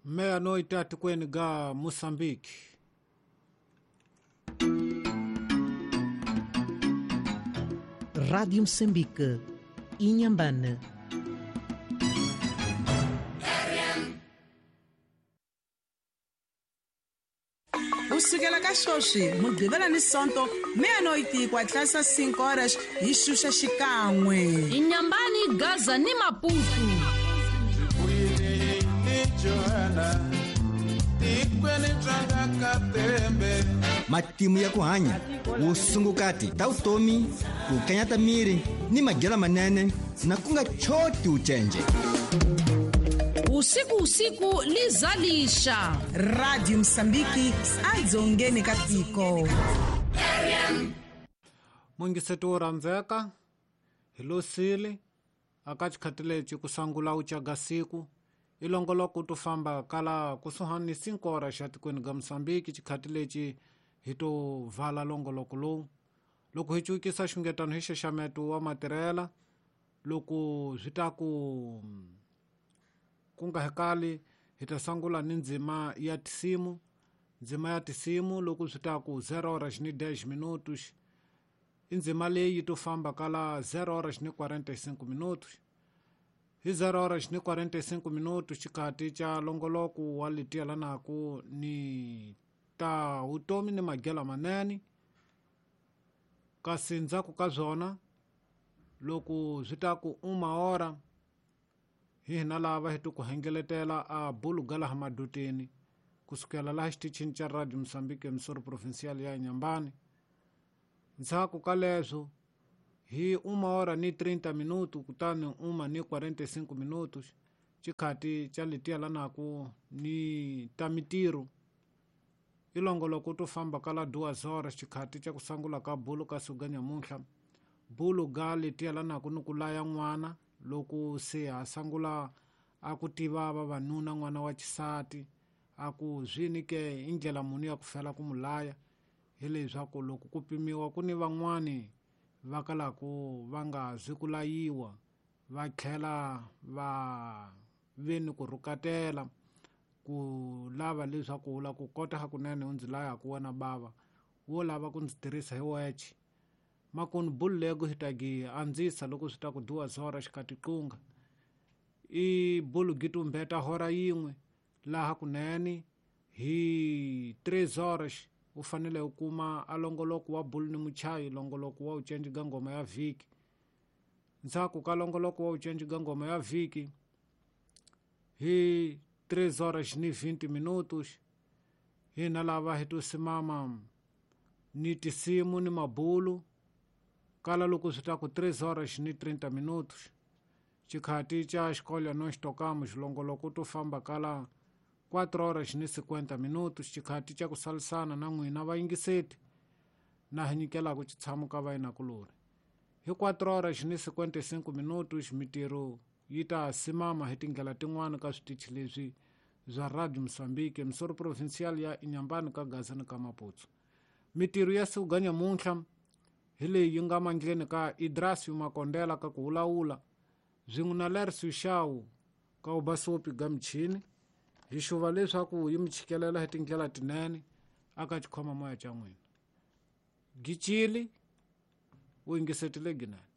Meia-noite atikweni ga Moçambique. Rádio Moçambique, Inhambane. Kusukela ka sweswi Mugqivela ni Sonto meia-noite ku hatlisa 5 horas hi xuxa xikan'we. Inhambane, Gaza ni Maputo. Matimu ya ku hanya vusungukati ta vutomi ku kanyata miri ni madyelo manene na ku nga choti ucenje. Usiku usiku lizalisha. Radio Moçambique adzongeni ka tiko. Mungiseti wo rhandzeka hi losile aka xikhati lexi ku sangula u caga siku i longoloko to famba kala kusuhani ni 5 horas xa tikweni ga Moçambique. Xikhati lexi hi to vala longoloko lowu loko hi cukisa xungetano hi xaxameto wa matirhela loko swi ta ku ku nga hekali hi ta sangula ni ndzima ya tisimu. Ndzima ya tisimu loko swi ta ku 0 horas ni 10 minutos i ndzima leyi to famba kala 0 horas ni 45 minutos. Hi 0 horas ni 45 minutos xikhati xa longoloko wa letielanaku ni ta vutomi ni madyelo manene. Kasi ndzhaku ka swona loko swi ta ku uma hora hi hina lava hi ku hengeletela a bulu ga laha maduteni kusukela laha xitichini xa Radio Moçambique emisoro provincial ya Inhambane. Ndzhaku ka leswo hi uma hora ni 30 minutos kutani uma ni 45 minutos xikhati xa letielanaku ni ta mitirho i longoloko to famba kala 2 horas xikhati xa ku sangula ka bulu ka suga nyamuntlha. Bulu ga letielanaku ni ku laya n'wana loko se a sangula a ku tiva vavanuna n'wana wa xisati a ku zwini ke i ndlela muni ya ku fela ku mulaya hi leswaku loko ku pimiwa ku ni van'wani va kalaku va nga zi ku layiwa va tlhela va ve ni ku rhukatela ku lava leswaku u la ku kota hakunene u ndzi laya ku wena bava wo lava ku ndzi tirhisa hi weche. Makunu bulu lego hi ta gi andzisa loko swi ta ku 2 horas xikati qunga i bulu gi tumbeta hora yin'we laha kunene hi 3 horas u fanele u kuma a longoloko wa bulu ni muchayi longoloko wa ucenji ga ngoma ya vhiki. Ndzhaku ka longoloko wa ucenji ga ngoma ya vhiki hi 3 horas ni 20 minutos hina lava hi to simama ni tisimu ni mabulu kala loko swi ta ku 3 horas ni 30 minutos xikhati xa xikolo no xitokamo xilongoloko to famba kala 4 horas ni 50 minutos xikhati xa ku salisana na n'wina vayingiseti na hi nyikelaka xitshamo ka vayinakulori. Hi 4 horas ni 55 minutos mitirho yi ta simama hi tindlela tin'wana ka switichi leswi bya Radio Moçambique emisoro provincial ya Inhambane ka Gaza ni ka Maputo. Mitirho ya siku ga nyamuntlha hi leyi yi nga mandleni ka Idrasio Makondela ka ku wulawula swin'we na Lercio Shaw ka ubasopi ga michini hi xuva leswaku yi mi chikelela hi tindlela tinene aka xikhoma moya xa n'wina. Gicili u yingisetile ginene.